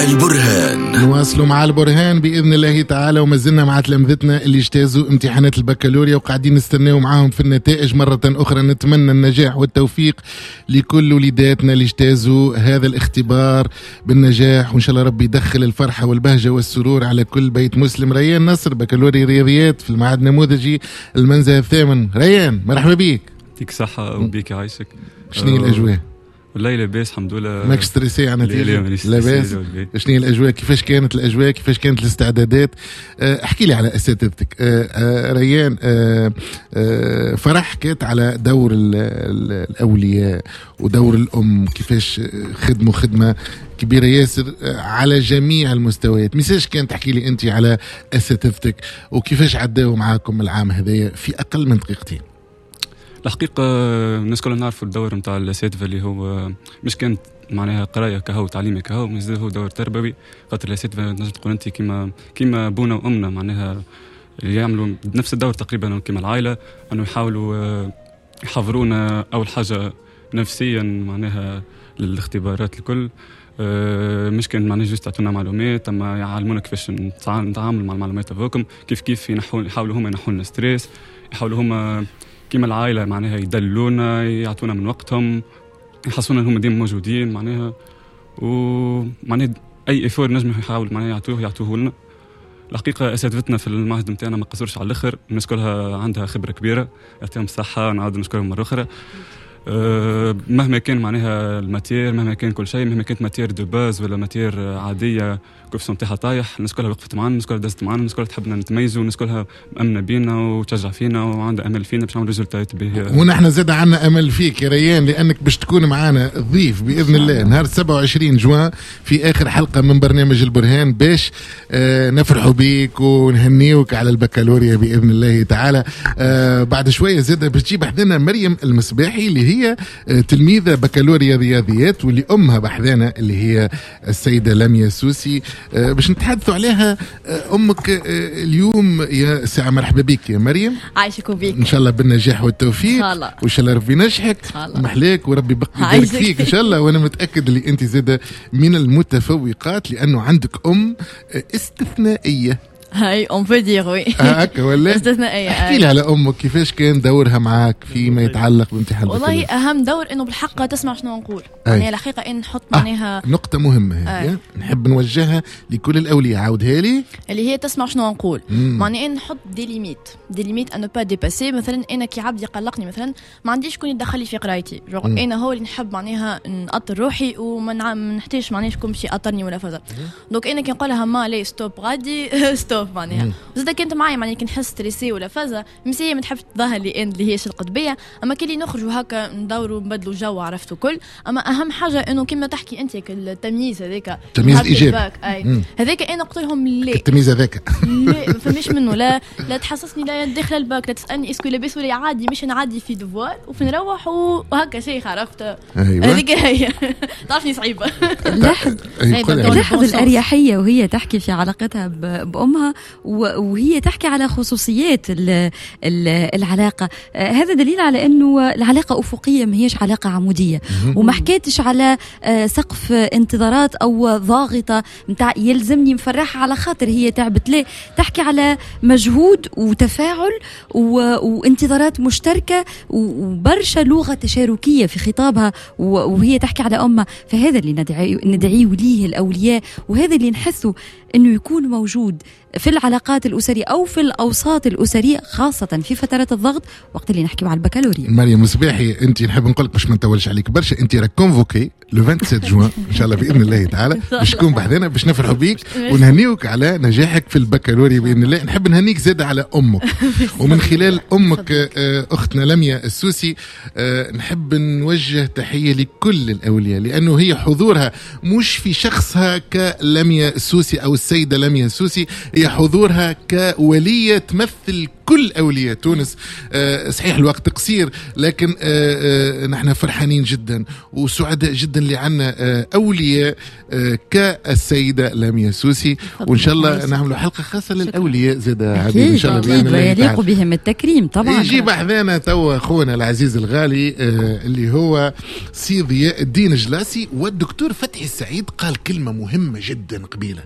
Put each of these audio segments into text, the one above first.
البرهان. نواصلوا مع البرهان بإذن الله تعالى، وما زلنا مع تلامذتنا اللي اجتازوا امتحانات البكالوريا وقاعدين نستناو معاهم في النتائج. مرة أخرى نتمنى النجاح والتوفيق لكل وليداتنا اللي اجتازوا هذا الاختبار بالنجاح، وإن شاء الله ربي يدخل الفرحة والبهجة والسرور على كل بيت مسلم. ريان نصر، بكالوريا رياضيات في المعهد النموذجي المنزه الثامن. ريان مرحبا بك. يعطيك الصحة وبيك يعيشك. شنو هي الأجواء؟ والله لاباس الحمد لله. ماكش stressé على النتيجة؟ لاباس. شنو هي الأجواء؟ كيفاش كانت الأجواء؟ كيفاش كانت الاستعدادات؟ احكي لي على أساتذتك. ريان، فرح حكيت على دور الأولياء ودور الأم، كيفاش خدموا خدمة كبيرة ياسر على جميع المستويات. ميساج كان تحكي لي أنت على أساتذتك وكيفاش عداوا معاكم العام هذايا في أقل من دقيقتين. الحقيقة الناس كلنا نعرفوا الدور نتاع الأساتذة اللي هو مش كانت معناها قراية كهو تعليمي كهو، مازال هو دور تربوي، خاطر الأساتذة نجم تقول أنت كيما بونا وأمنا، معناها اللي يعملوا نفس الدور تقريبا كيما العائلة، أنه يحاولوا يحضرونا أول حاجة نفسيا معناها للاختبارات الكل. مش كان معناها juste يعطونا معلومات، اما يعلمونا كيفاش نتعامل مع المعلومات هذوكم، كيف يحاولوا هما ينحوا لنا stress، يحاولوا هما كيما العائلة معناها يدلونا، يعطونا من وقتهم، يحسونا انهم ديما موجودين معناها، ومعناها اي effort نجم يحاول معناها يعطوه لنا. الحقيقة اساتذتنا في المعهد نتاعنا ما قصروش على الاخر، الناس كلها عندها خبره كبيرة، يعطيهم الصحة، نعاود نشكرهم مرة اخرى. مهما كان معناها ال matière، مهما كان كل شيء، مهما كانت matière de base ولا matière عادية coefficient نتاعها طايح، الناس كلها وقفت معنا، الناس كلها دزت معنا، الناس كلها تحبنا نتميزوا، الناس كلها مأمنه بينا وتشجع فينا وعندها امل فينا باش نعملوا résultat ات باهيه. ونحن زاد عندنا امل فيك يا ريان، لانك باش تكون معنا ضيف باذن الله نهار 27 جوان في اخر حلقة من برنامج البرهان، باش نفرحوا بيك ونهنيوك على البكالوريا باذن الله تعالى. بعد شوية زاد باش تجيب حدنا مريم المصباحي اللي هي تلميذة بكالوريا رياضيات واللي أمها بحذانا اللي هي السيدة لميا سوسي، باش نتحدثوا عليها. أمك اليوم يا ساعة، مرحبا بك يا مريم. عايشك وبيك. إن شاء الله بالنجاح والتوفيق، إن شاء الله، وإن شاء الله ربي ينجحك ومحلاك وربي يبارك فيك إن شاء الله. وأنا متأكد اللي أنت زادة من المتفوقات لأنه عندك أم استثنائية. هاي on peut dire oui. هكا ولا؟ استثنائية. احكي لي على أمك، كيفاش كان دورها معاك فيما يتعلق بامتحان والله أهم دور إنه بالحق تسمع شنو نقول. يعني الحقيقة إن نحط معناها نقطة مهمة هي نحب نوجهها لكل الأولياء، عاودها لي، اللي هي تسمع شنو نقول. معناها إن نحط des limites، des limites à ne pas dépasser. مثلا أنا كي عبد يقلقني مثلا ما عنديش شكون يدخل لي في قرايتي، أنا هو اللي نحب معناها نأطر روحي وما نحتاجش معناها شكون باش يأطرني ولا فزر. donc أنا كي نقولها ما لي stop غادي stop معناها. وزاد كنت معايا معناها كي نحس stressée ولا فازة مسيه ما تحبش تظهر لي ان اللي هي شلقت بيا، اما كي اللي نخرجوا هكا ندوروا نبدلوا جو عرفتوا كل. اما اهم حاجة انه كما تحكي انت التمييز هذاك، التمييز الايجابي هذاك انا قلت لهم لا، التمييز هذاك لا ما فماش منه، لا تحسسني لا داخله الباك، لا تسالني est-ce que لاباس ولا عادي، مش نعدي في devoir وفي نروح وهكا شيء عرفت. هذيك هي تعرفني صعيبة. لاحظ الاريحيه وهي تحكي في علاقتها بامها وهي تحكي على خصوصيات العلاقة. هذا دليل على أنه العلاقة أفقية ما هيش علاقة عمودية، وما حكيتش على سقف انتظارات أو ضاغطة متاع يلزمني مفرحة على خاطر هي تعبت. لا، تحكي على مجهود وتفاعل وانتظارات مشتركة وبرشا لغة تشاركية في خطابها وهي تحكي على أمها. فهذا اللي ندعيه ليه الأولياء، وهذا اللي نحسه أنه يكون موجود في العلاقات الأسرية أو في الأوساط الأسرية، خاصة في فترات الضغط وقت اللي نحكي على البكالوريا. مريم مصباحي، أنت نحب نقول لك باش ما نطولش عليك برشا، أنت راك convoquée le 27 جوان إن شاء الله بإذن الله تعالى باش تكون بحذنا باش نفرحوا بيك ونهنيوك على نجاحك في البكالوريا بإذن الله. نحب نهنيك زاد على أمك، ومن خلال أمك أختنا لميا السوسي نحب نوجه تحية لكل الأولياء، لأنه هي حضورها مش في شخصها كلميا السوسي أو السيدة لميا السوسي، هي حضورها كولية تمثل كل أولياء تونس. صحيح الوقت قصير، لكن نحن فرحانين جدا وسعداء جدا اللي عندنا أولياء كالسيدة لميا سوسي، وإن شاء الله نعملوا حلقة خاصة للأولياء زاد عبيد إن شاء الله، أكيد ويليق بهم التكريم طبعا. يجي بحذانا توا أخونا العزيز الغالي اللي هو سي ضياء الدين جلاسي. والدكتور فتحي السعيد قال كلمة مهمة جدا قبيلة،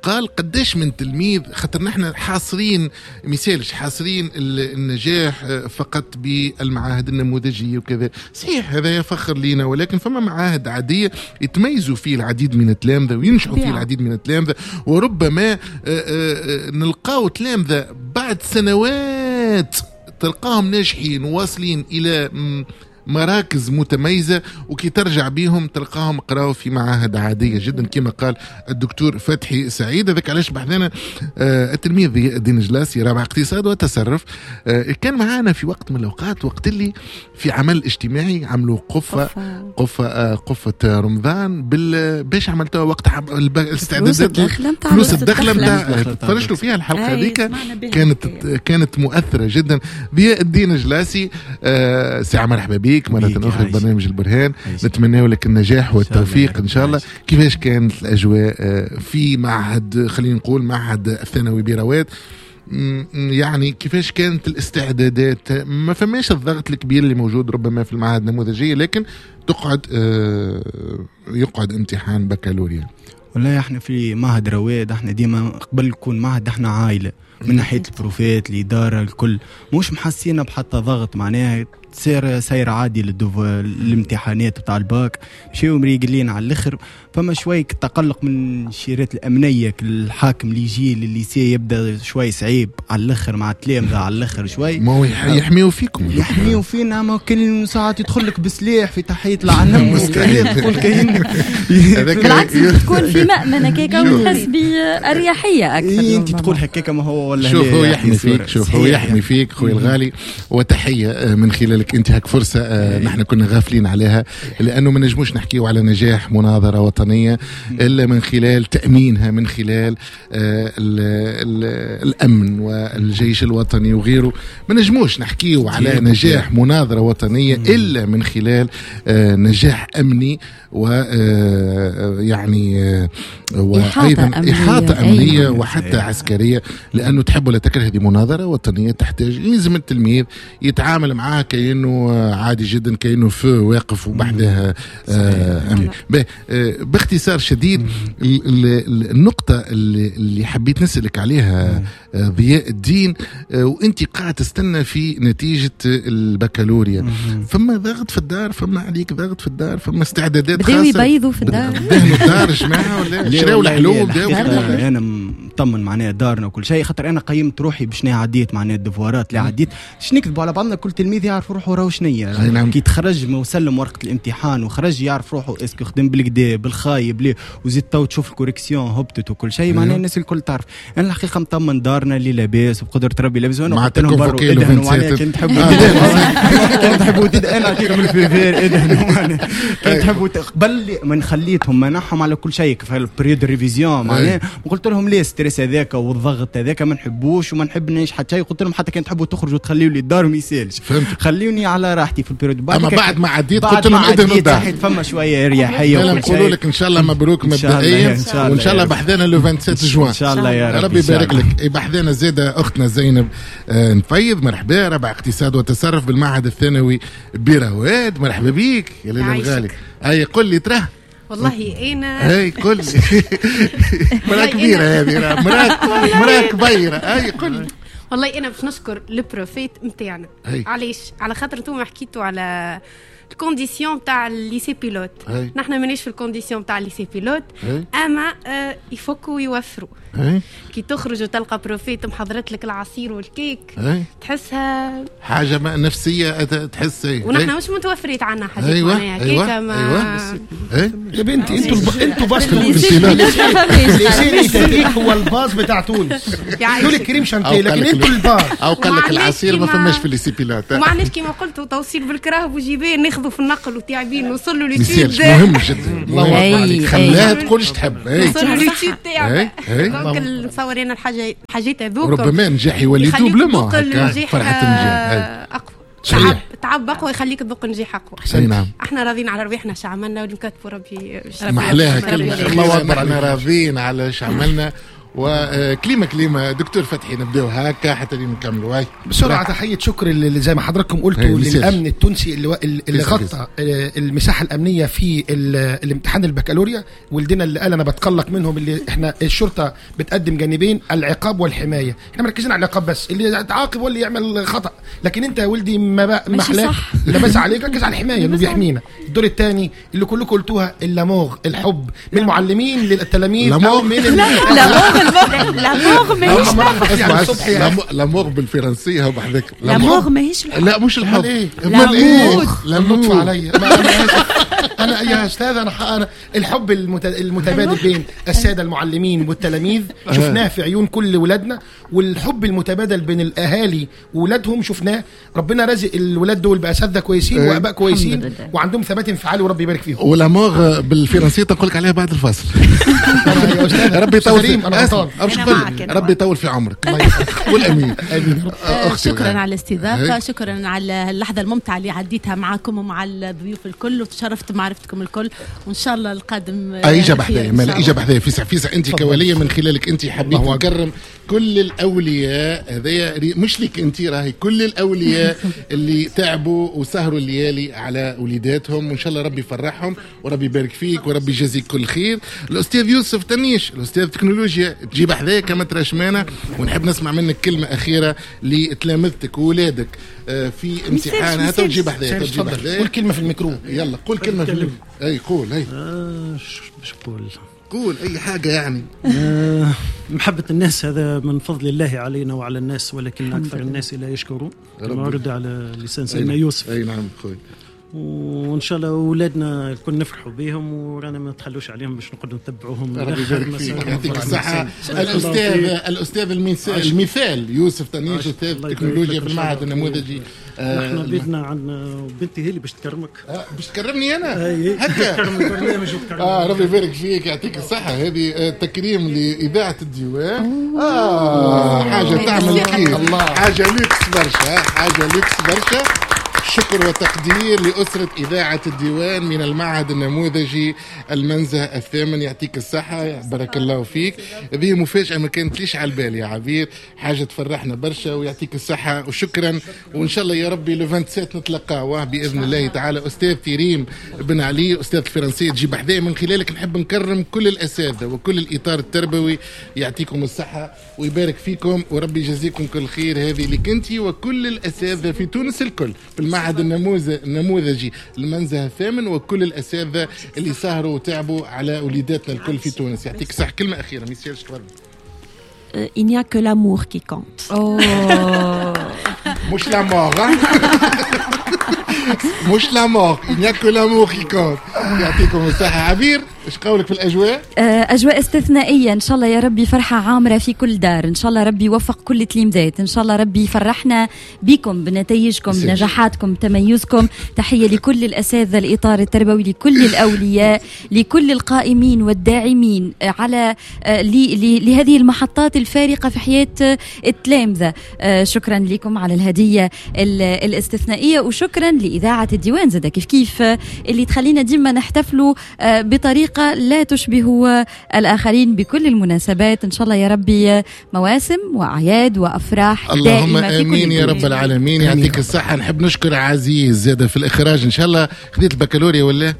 قال قداش من تلميذ، خاطر نحن حاصرين مثالش حاصرين النجاح فقط بالمعاهد النموذجية وكذا، صحيح هذا يفخر لينا، ولكن فما معاهد عادية يتميزوا فيه العديد من التلامذة وينجحوا فيه العديد من التلامذة، وربما نلقاو تلامذة بعد سنوات تلقاهم ناجحين وواصلين إلى مراكز متميزة، وكي ترجع بيهم تلقاهم قراوا في معاهد عادية جدا كما قال الدكتور فتحي سعيد. هذاك علاش بحثنا التلميذ ضياء الدين جلاسي رابع اقتصاد وتصرف، كان معانا في وقت من الأوقات، وقت اللي في عمل اجتماعي عملوا قفة قفة رمضان باش عملتوها وقت الاستعدادات فلوس الدخلة نتاع تفرجتوا فيها الحلقة هذيك، كانت مؤثرة جدا. ضياء الدين جلاسي ساعة مرحبا بك مرة أخرى في برنامج البرهان، نتمنى لك النجاح والتوفيق إن شاء الله. كيفاش كانت الأجواء في معهد، خلينا نقول معهد الثانوي برواد، يعني كيفاش كانت الاستعدادات؟ ما فماش الضغط الكبير اللي موجود ربما في المعاهد النموذجية، لكن تقعد يقعد امتحان بكالوريا. والله احنا في معهد رواد احنا ديما قبل يكون معهد احنا عائلة، من ناحية البروفات الإدارة الكل مش محسينا بحتى ضغط، معناها سير عادي للامتحانات بتاع الباك، مشيو مريقلين على الاخر. فما شوي تقلق من الشيرات الامنية، الحاكم اللي يجي لل lycée يبدا شوي صعيب على الاخر مع التلامذه على الاخر شوي، ما هو يحميو فيكم، يحميو فينا، ما كل ساعات يدخل لك بسلاح في تحية العنم تقول كاين بالعكس تكون في مأمن هكاك وتحس باريحية اكثر. انت تقول هكاك ما هو ولا شوف هو يحمي فيك، شوف هو يحمي فيك خويا الغالي، وتحية من خلالك انت هاك فرصة نحن كنا غافلين عليها، لأنه ما نجموش نحكيو على نجاح مناظرة وطنية إلا من خلال تأمينها، من خلال الأمن والجيش الوطني وغيره. ما نجموش نحكيو على نجاح مناظرة وطنية إلا من خلال نجاح أمني و يعني وأيضا إحاطة أمنية وحتى عسكرية، لأنه تحب ولا تكره هذه مناظرة وطنية تحتاج لازم التلميذ يتعامل معاه كأنه عادي جدا، كأنه feu واقف وبحدها أمني. باختصار شديد النقطة اللي حبيت نسألك عليها ضياء الدين، وانت قاعد تستنى في نتيجة البكالوريا، فما ضغط في الدار، فما عليك ضغط في الدار، فما استعدادات خاصة، بداو يبيضوا في الدار، دهنوا الدار جماعة ولا شراو الحلو؟ انا مطمن معناها دارنا وكل شيء، خاطر انا قيمت روحي باش عديت معناها الدفوارات اللي عديت، باش نكذبوا على بعضنا كل تلميذ يعرف روحه راهو شنية، كي تخرج ما وسلم ورقة الامتحان وخرج يعرف روحه est-ce que خدم بالكدا بالخايب ليه، وزيد تو تشوف ال correction هبطت وكل شيء، معناها الناس الكل تعرف. انا الحقيقة مطمن دارنا اللي لاباس وبقدرة ربي لاباس، وانا قلت لهم بروا ادهنوا معناها كان تحبوا كان تحبوا انا نعطيكم ال feu vert ادهنوا معناها كان تحبوا، قبل ما نخليتهم منعهم على كل شيء في ال période révision معناها، وقلت لهم ليه stress هذاك والضغط هذاك ما نحبوش وما نحب نعيش حتى شيء، قلت لهم حتى كان تحبوا تخرجوا تخليوا لي الدار ما يسالش، خليوني على راحتي في ال période. اما بعد ما عديت قلت لهم ادهنوا الدار، فما شوية اريحية. نقولوا لك ان شاء الله مبروك مبدئيا، وان شاء الله بحذانا le 27 جوان ان شاء الله يا ربي يبارك لك. بحذانا زاده اختنا زينب نفيض، مرحبا، رابع اقتصاد وتصرف بالمعهد الثانوي برواد، مرحبا بيك يا ليلى الغالي. اي قل لي تراه والله انا اي قل لي مراة كبيرة هذه، مراة كبيرة. اي قل لي والله انا باش نشكر ال profs نتاعنا. علاش؟ على خاطر انتم حكيتوا على ال conditions تاع ال lycée pilote، نحن مانيش في ال conditions تاع ال lycée pilote، اما يفكوا ويوفروا. كي تخرج وتلقى prof محضرت لك العصير والكيك تحسها حاجة نفسية تحس. ونحن مش متوفرين عنا حاجات. أيوة. معناها كيكة ما يا بنتي انتوا باص في ال lycée هو الباص بتاع تونس، دول ال crème chantilly، لكن انتوا الباص. او قال لك العصير ما فماش في ال lycée pilote. وما عندناش كيما قلتوا توصيل بالكراهب وجيبان، ناخذ ناخذوا في النقل وتعبين نوصلوا l'étude مهم جدا. الله عليك، خلاها تقول ايش تحب. نوصلوا l'étude تاعنا. donc نصور انا الحاجات هذوك ربما نجاح يولي doublement فرحه النجاح اقوى. تعب اقوى يخليك تذوق نجاح اقوى. نعم. احنا راضيين على رواحنا اش عملنا واللي كتبوا ربي. محلاها كلمة، الله اكبر، احنا راضيين على اش عملنا. وكلمه كلمة دكتور فتحي نبداو هكا حتى نكملوا. هاي بسرعة تحية شكر اللي زي ما حضراتكم قلتوا للامن التونسي اللي غطى المساحة الامنية في الامتحان البكالوريا. ولدنا اللي قال انا بتقلق منهم، اللي احنا الشرطة بتقدم جانبين، العقاب والحماية. احنا مركزين على العقاب بس، اللي يتعاقب واللي يعمل خطا، لكن انت يا ولدي ما محلاك لاباس عليك، ركز على الحماية انه بيحمينا. الدور الثاني اللي كلكم قلتوها، l'amour، الحب من المعلمين للتلاميذ. l'amour l'amour ماهيش l'amour بالفرنسيه بحذاك. l'amour ماهيش الحب. لا مش الحب. امال ايه؟ l'amour عليا انا يا استاذ. انا الحب المتبادل بين السادة المعلمين والتلاميذ شفناه في عيون كل ولادنا، والحب المتبادل بين الاهالي وولادهم شفناه. ربنا رزق الولاد دول باساتذه كويسين واباء كويسين وعندهم ثبات انفعالي، وربي يبارك فيهم. و l'amour بالفرنسيه تقول لك عليها بعد الفاصل. ربي يطول، ربي يطول في عمرك. قول امين. شكرا على الاستضافة، شكرا على اللحظة الممتعة اللي عديتها معكم ومع الضيوف الكل، وتشرفت بمعرفتكم الكل، وان شاء الله القادم. اجا بحذايا، اجا بحذايا فيسع فيسع. انت كوليه من خلالك انت حبيت نكرم كل الاولياء، هذايا مش لك انت، راهي كل الاولياء اللي تعبوا وسهروا الليالي على وليداتهم، وان شاء الله ربي يفرحهم وربي يبارك فيك وربي يجازيك كل خير. الاستاذ يوسف تنيش، الاستاذ تكنولوجيا، تجيب حذايا كما ترشمانه، ونحب نسمع منك كلمة اخيرة لتلامذتك وولادك في امتحان. تجيب حذايا، تجيب حذايا، قول كلمة في الميكرو. يلا قول كلمة في الميكرو. اي قول. اي باش نقول؟ قول اي حاجة يعني. محبة الناس هذا من فضل الله علينا وعلى الناس، ولكن اكثر الناس لا يشكرون، كما ورد على لسان سيدنا يوسف. اي نعم خويا. وان شاء الله اولادنا الكل نفرحوا بهم، ورانا ما نتخلوش عليهم باش نقعدوا نتبعوهم. ربي يبارك فيك، يعطيك الصحة. الاستاذ المثال يوسف تنيش، استاذ تكنولوجيا في المعهد النموذجي. نحن بيتنا عندنا بنتي هي اللي باش تكرمك. باش تكرمني انا هكا؟ تكرم البرنامج وتكرم. ربي يبارك فيك، يعطيك الصحة. هذه تكريم لاذاعة الديوان. حاجة تعمل كيف، حاجة لوكس برشا، حاجة لوكس برشا. شكر وتقدير لأسرة إذاعة الديوان من المعهد النموذجي المنزه الثامن. يعطيك الصحة، بارك الله فيك. هذه مفاجأة ما كانت ليش على البال يا عبير، حاجة تفرحنا برشا، ويعطيك الصحة وشكرا. وإن شاء الله يا ربي le 27 نتلقاوه بإذن الله تعالى. أستاذ تيريم بن علي، أستاذ الفرنسية، تجيب حذايا. من خلالك نحب نكرم كل الأساتذة وكل الإطار التربوي، يعطيكم الصحة ويبارك فيكم وربي يجازيكم كل خير. هذه لك أنت وكل الأساتذة في تونس الكل في المعهد النموذجي المنزه الثامن، وكل الأساتذة اللي سهروا وتعبوا على وليداتنا الكل في تونس. يعطيك صح. كلمة أخيرة ميسير شكرا. Il n'y a que l'amour qui compte. Oh. مش la mort. مش la mort. Il n'y a que l'amour qui compte. يعطيكم الصحة. عبير، ايش قولك في الأجواء؟ أجواء استثنائية إن شاء الله يا ربي، فرحة عامرة في كل دار، إن شاء الله ربي يوفق كل تلميذات، إن شاء الله ربي يفرحنا بكم، بنتائجكم، بنجاحاتكم، بتميزكم. تحية لكل الأساتذة، الإطار التربوي، لكل الأولياء، لكل القائمين والداعمين على لهذه المحطات الفارقة في حياة التلامذة. شكرا لكم على الهدية الاستثنائية، وشكرا لإذاعة الديوان زادة كيف كيف اللي تخلينا ديما نحتفلوا بطريقة لا تشبه الآخرين بكل المناسبات. إن شاء الله يا ربي مواسم وأعياد وأفراح اللهم دائمة في كل آمين يا رب العالمين. يعطيك الصحة. نحب نشكر عزيز زادة في الإخراج. إن شاء الله خذيت البكالوريا ولا؟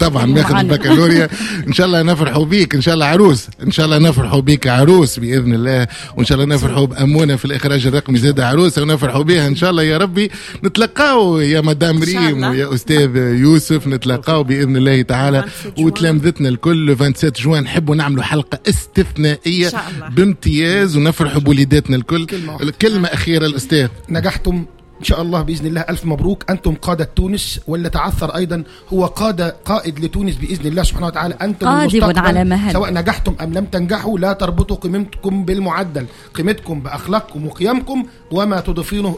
طبعا ناخذ البكالوريا. إن شاء الله نفرحوا بيك، إن شاء الله عروس، إن شاء الله نفرحوا بيك عروس بإذن الله، وإن شاء الله نفرحوا بأمونة في الإخراج الرقمي زادة عروسة ونفرحوا بها إن شاء الله يا ربي. نتلقاو يا مدام ريم ويا أستاذ يوسف، نتلقاو بإذن الله تعالى وتلامذتنا الكل 27 جوان. نحبوا نعملوا حلقة استثنائية بامتياز ونفرحوا بوليداتنا الكل. كلمة أخيرة الأستاذ. نجحتم إن شاء الله بإذن الله ألف مبروك، أنتم قادة تونس، واللي تعثر أيضا هو قائد لتونس بإذن الله سبحانه وتعالى. أنتم المستقبل على مهل، سواء نجحتم أم لم تنجحوا لا تربطوا قيمتكم بالمعدل، قيمتكم بأخلاقكم وقيمكم وما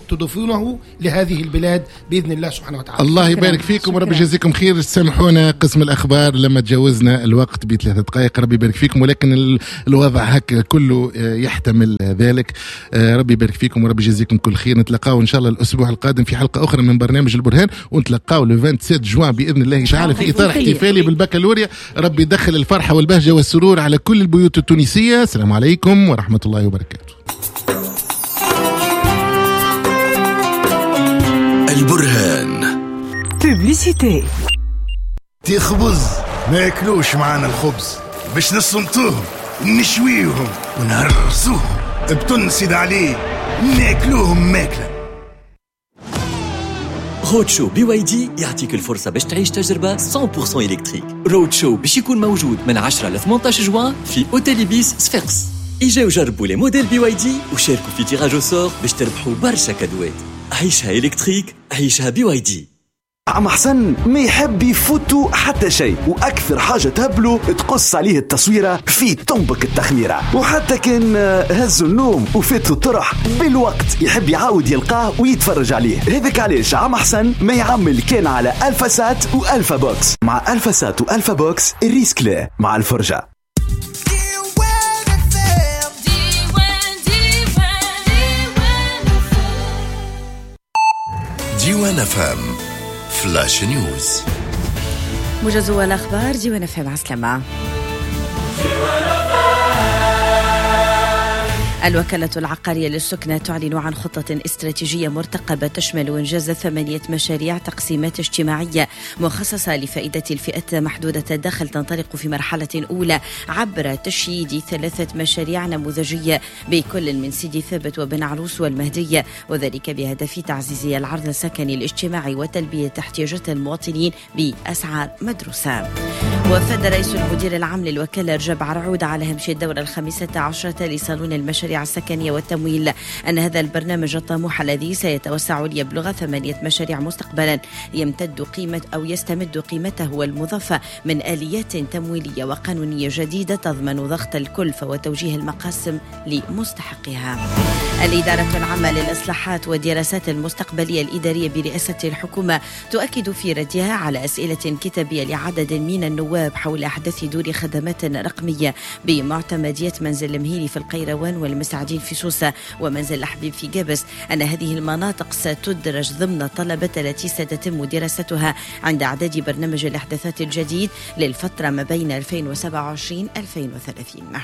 تضيفونه لهذه البلاد بإذن الله سبحانه وتعالى. الله يبارك فيكم ورب يجازيكم خير. سامحونا قسم الأخبار لما تجاوزنا الوقت ب3 دقائق، ربي يبارك فيكم، ولكن الوضع هكا كله يحتمل ذلك. ربي يبارك فيكم وربي يجازيكم كل خير. نتلقاو إن شاء الله الأسبوع القادم في حلقة أخرى من برنامج البرهان، ونتلقاو le 27 جوان بإذن الله تعالى في إطار احتفالي بالبكالوريا. ربي يدخل الفرحة والبهجة والسرور على كل البيوت التونسية. السلام عليكم ورحمة الله وبركاته. البرهان publicité. تخبز ما ياكلوش معانا الخبز باش نصمتوهم نشويوهم ونهرسوهم بتنسد عليه ناكلوهم ماكلة. Road Show BYD يعطيك الفرصة باش تعيش تجربة 100% électrique. Road Show باش يكون موجود من 10 ل 18 جوان في Hôtel Ibis صفاقس. اجاو جربوا les modèles BYD وشاركوا في tirage au sort باش تربحوا برشا كادوات. عيشها électrique، عيشها BYD. عم حسن ما يحب يفوتو حتى شيء، واكثر حاجة تهبلو تقص عليه التصويره في طنبك التخميره، وحتى كان هزو النوم وفاتو الطرح بالوقت يحب يعاود يلقاه ويتفرج عليه. هذاك علاش عم حسن ما يعمل كان على الفا سات والفا بوكس. مع الفا سات والفا بوكس ال risque لا مع الفرجة. ديوان FM Flash News، موجز الأخبار. ديوان FM، عسلامة. الوكالة العقارية للسكنة تعلن عن خطة استراتيجية مرتقبة تشمل إنجاز 8 مشاريع تقسيمات اجتماعية مخصصة لفائدة الفئات محدودة الدخل، تنطلق في مرحلة أولى عبر تشييد 3 مشاريع نموذجية بكل من سيدي ثابت وبن عروس والمهدية، وذلك بهدف تعزيز العرض السكني الاجتماعي وتلبية احتياجات المواطنين بأسعار مدروسة. وفد رئيس المدير العام للوكالة رجب عرعود على هامش الدورة 15 لصالون المشاريع السكنية والتمويل أن هذا البرنامج الطموح الذي سيتوسع ليبلغ 8 مشاريع مستقبلا يمتد قيمة أو يستمد قيمته المضافة من آليات تمويلية وقانونية جديدة تضمن ضغط الكلفة وتوجيه المقاسم لمستحقها. الإدارة العامة للإصلاحات والدراسات المستقبلية الإدارية برئاسة الحكومة تؤكد في ردها على أسئلة كتابية لعدد من النواب حول أحداث دور خدمات رقمية بمعتمدية منزل المهيري في القيروان والمسعدين في سوسة ومنزل الحبيب في جابس أن هذه المناطق ستدرج ضمن الطلبات التي ستتم دراستها عند إعداد برنامج الإحداثات الجديد للفترة ما بين 2027-2030.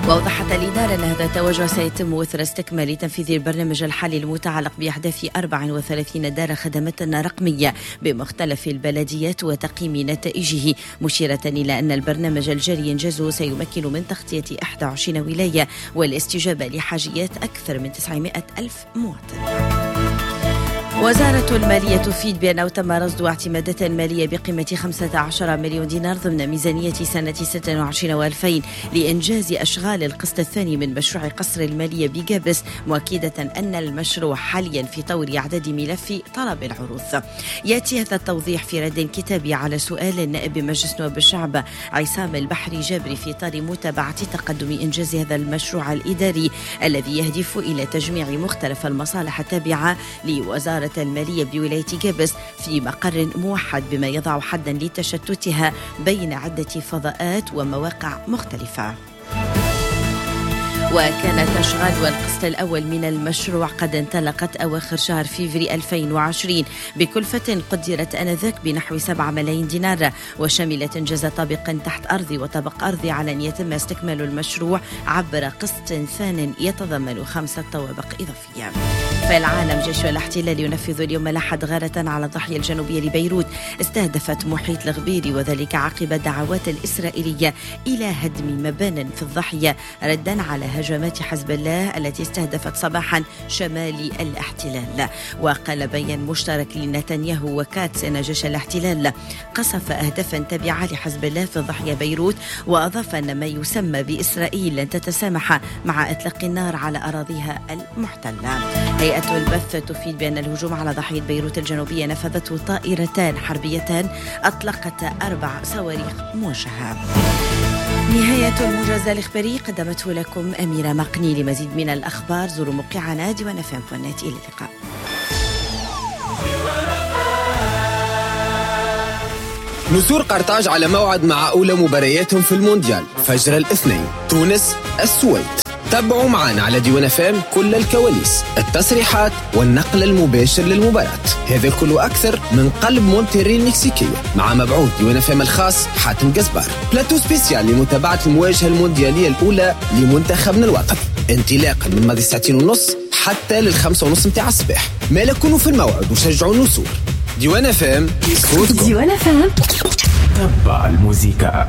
وأوضحت الإدارة أن هذا التوجه سيتم إثر استكمال تنفيذ البرنامج الحالي المتعلق بأحداث 34 دار خدمات رقمية بمختلف البلديات وتقييم نتائجه، مشيرة إلى أن البرنامج الجاري إنجازه سيمكن من تغطية 21 ولاية والاستجابة لحاجيات أكثر من 900 ألف مواطن. وزارة المالية تفيد بأنه تم رصد اعتمادات مالية بقيمة 15 مليون دينار ضمن ميزانية سنة 26 و2000 لإنجاز أشغال القسط الثاني من مشروع قصر المالية بجابس، مؤكدة أن المشروع حاليا في طور إعداد ملف طلب العروض. يأتي هذا التوضيح في رد كتابي على سؤال النائب بمجلس نواب الشعب عصام البحري جابري في إطار متابعة تقدم إنجاز هذا المشروع الإداري الذي يهدف إلى تجميع مختلف المصالح التابعة لوزارة المالية بولاية جابس في مقر موحد، بما يضع حدا لتشتتها بين عدة فضاءات ومواقع مختلفة. وكانت أشغال والقسط الأول من المشروع قد انطلقت أواخر شهر فيفري 2020 بكلفة قدرت آنذاك بنحو 7 ملايين دينار، وشملت إنجاز طابق تحت أرضي وطابق أرضي على أن يتم استكمال المشروع عبر قسط ثان يتضمن 5 طوابق إضافية. في العالم، جيش الاحتلال ينفذ اليوم الأحد غارة على الضاحية الجنوبية لبيروت استهدفت محيط الغبيري، وذلك عقب دعوات الإسرائيلية إلى هدم مبان في الضاحية ردا على هجمات حزب الله التي استهدفت صباحا شمال الاحتلال. وقال بيان مشترك لنتنياهو وكاتس أن جيش الاحتلال قصف أهدافا تابعة لحزب الله في ضاحية بيروت، وأضاف أن ما يسمى بإسرائيل لن تتسامح مع إطلاق النار على أراضيها المحتلة. هيئة البث تفيد بأن الهجوم على ضاحية بيروت الجنوبية نفذته طائرتان حربيتان أطلقت 4 صواريخ موجهة. نهاية الموجز الإخباري قدمته لكم أميرة مقني. لمزيد من الأخبار زوروا موقعنا ديوان FM.net. إلى اللقاء. نسور قرطاج على موعد مع أولى مبارياتهم في المونديال فجر الاثنين، تونس السويد. تابعوا معنا على ديوان FM كل الكواليس، التصريحات والنقل المباشر للمباراة. هذا الكل أكثر من قلب مونتيري المكسيكية مع مبعوث ديوان FM الخاص حاتم قزبار. plateau spécial لمتابعة المواجهة المونديالية الأولى لمنتخبنا الوطني، انطلاقا من ماضي 2:30 حتى لل5:30 متاع الصباح. ما لكونوا في الموعد وشجعوا النسور. ديوان FM صوتكم. ديوان FM تبع الموسيقى.